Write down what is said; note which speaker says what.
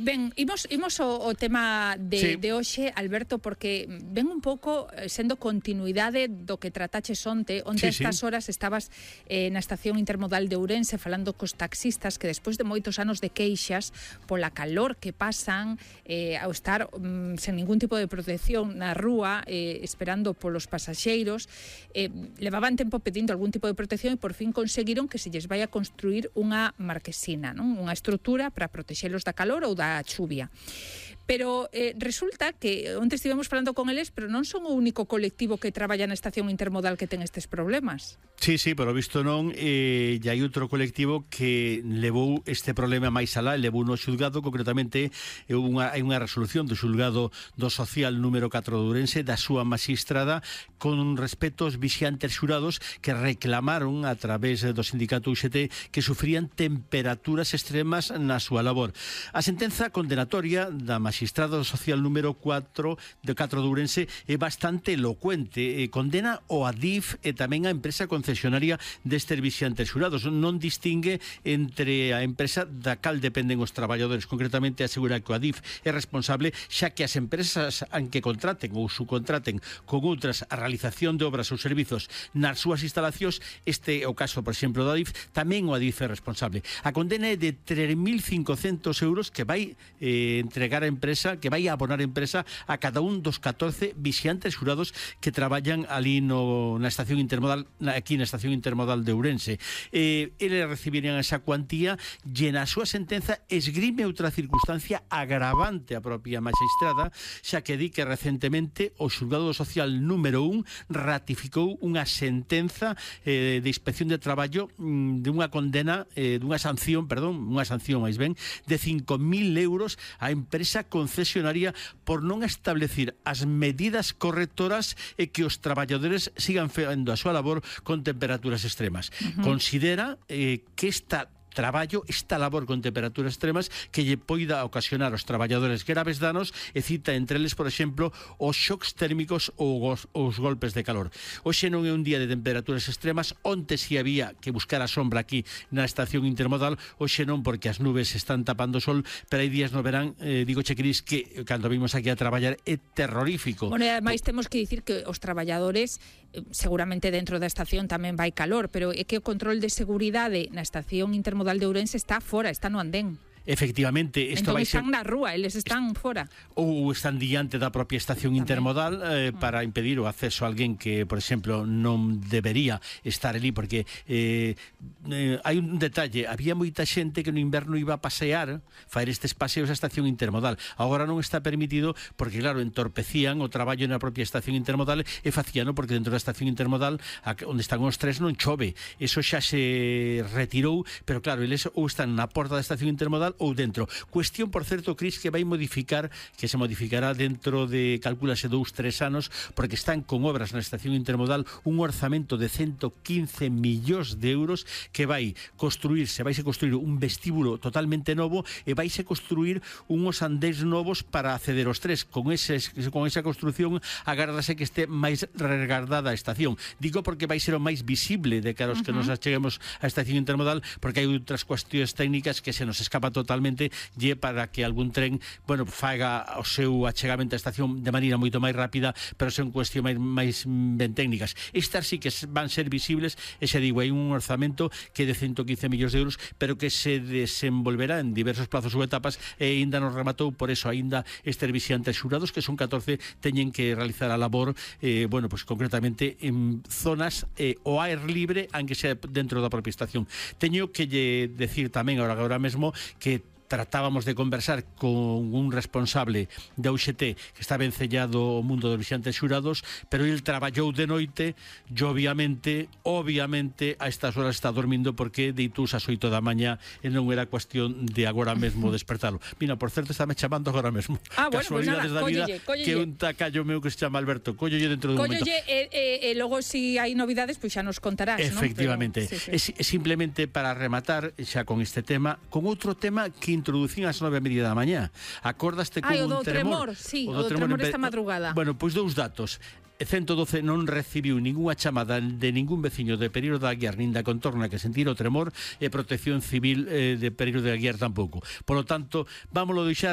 Speaker 1: Ben, imos o tema de hoxe, Alberto, porque ven un pouco sendo continuidade do que trataches onte a estas horas estabas na estación intermodal de Ourense falando cos taxistas que despois de moitos anos de queixas pola calor que pasan ao estar sen ningún tipo de protección na rúa esperando polos pasaxeiros levaban tempo pedindo algún tipo de protección e por fin conseguiron que se lles vai a construir unha marquesina, non? Unha estrutura para protexelos da calor ou da chuvia. Pero resulta que onte estivemos falando con eles, pero non son o único colectivo que traballa na estación intermodal que ten estes problemas.
Speaker 2: Sí, polo visto non, e hai outro colectivo que levou este problema máis alá, levou no xulgado, concretamente hai unha resolución do xulgado do social número 4 de Ourense da súa magistrada con respecto aos vixiantes xurados que reclamaron a través do sindicato UGT que sufrían temperaturas extremas na súa labor. A sentenza condenatoria da magistrado social número 4 de Ourense é bastante elocuente, condena o ADIF e tamén a empresa concesionaria destes vixiantes xurados, non distingue entre a empresa da cal dependen os traballadores, concretamente asegura que o ADIF é responsable xa que as empresas que contraten ou subcontraten con outras a realización de obras ou servizos nas súas instalacións, este é o caso, por exemplo, do ADIF, tamén o ADIF é responsable. A condena é de 3.500 euros que vai entregar a empresa, que vai a abonar a empresa a cada un dos 14 vixiantes xurados que traballan ali na estación intermodal, aquí na estación intermodal de Ourense. Eles recibirían esa cuantía e na súa sentenza esgrime outra circunstancia agravante a propia magistrada, xa que di que recentemente o xulgado social número 1 ratificou unha sentenza de inspección de traballo de unha condena, unha sanción máis ben, de 5.000 euros a empresa concesionaria por non establecer as medidas correctoras e que os traballadores sigan facendo a súa labor con temperaturas extremas. Considera que esta labor con temperaturas extremas que lle poida ocasionar aos traballadores graves danos e cita entre eles, por exemplo, os xocs térmicos ou os golpes de calor. Hoxe non é un día de temperaturas extremas, onte si había que buscar a sombra aquí na estación intermodal, hoxe non porque as nubes están tapando o sol, pero hai días no verán, digoche, Cris, que cando vimos aquí a traballar é terrorífico.
Speaker 1: Bueno, e ademais temos que dicir que os traballadores seguramente dentro da estación tamén vai calor, pero é que o control de seguridade na estación intermodal de Ourense está fora, está no andén.
Speaker 2: Efectivamente,
Speaker 1: entón están na rúa, eles están fora.
Speaker 2: Ou están diante da propia estación intermodal para impedir o acceso a alguén que, por exemplo, non debería estar ali, porque hai un detalle, había moita xente que no inverno iba a pasear, faer estes paseos á estación intermodal. Agora non está permitido porque, claro, entorpecían o traballo na propia estación intermodal e facíano porque dentro da estación intermodal onde están os tres non chove. Eso xa se retirou, pero claro, eles ou están na porta da estación intermodal ou dentro. Cuestión, por certo, Cris, que vai modificar, que se modificará dentro de, calcúlase, 2-3 anos, porque están con obras na estación intermodal un orzamento de 115 millóns de euros que vai construirse, vaise construir un vestíbulo totalmente novo e vaise construir unhos andéns novos para acceder aos tres. Con esa construción agárdase que este máis regardada a estación. Digo porque vai ser o máis visible de cara aos que nos acheguemos á estación intermodal, porque hai outras cuestións técnicas que se nos escapa totalmente lle para que algún tren, bueno, faga o seu achegamento á estación de maneira moito máis rápida, pero son cuestións máis ben técnicas. Estas sí que van ser visibles, e xa digo, hai un orzamento que é de 115 millóns de euros, pero que se desenvolverá en diversos plazos ou etapas e ainda non rematou, por eso ainda estes vixiantes xurados, que son 14, teñen que realizar a labor, bueno, pues concretamente en zonas o aire libre, aunque sea dentro da propia estación. Teño que decir tamén agora mesmo que tratábamos de conversar con un responsable da UGT que está vencellado ao mundo dos vixiantes xurados, pero ele traballou de noite e obviamente a estas horas está dormindo porque deitou as 8 da mañá e non era cuestión de agora mesmo despertalo. Mira, por certo, está me chamando agora mesmo.
Speaker 1: Bueno,
Speaker 2: casualidades da vida, que un tacallo meu que se chama Alberto. Cóllolle dentro dun momento.
Speaker 1: E logo, se hai novidades, pois xa nos contarás,
Speaker 2: efectivamente, non? Pero, sí. É simplemente para rematar xa con este tema, con outro tema que introducín ás 9:30 da mañá. Acordaste con un tremor?
Speaker 1: Sí, o do tremor esta madrugada.
Speaker 2: Bueno, pois dous datos. 112 non recibiu ningunha chamada de ningún veciño de Pereiro de Aguiar nin da contorna que sentira o tremor, e Protección Civil de Pereiro de Aguiar tampouco. Por lo tanto, vámoslo deixar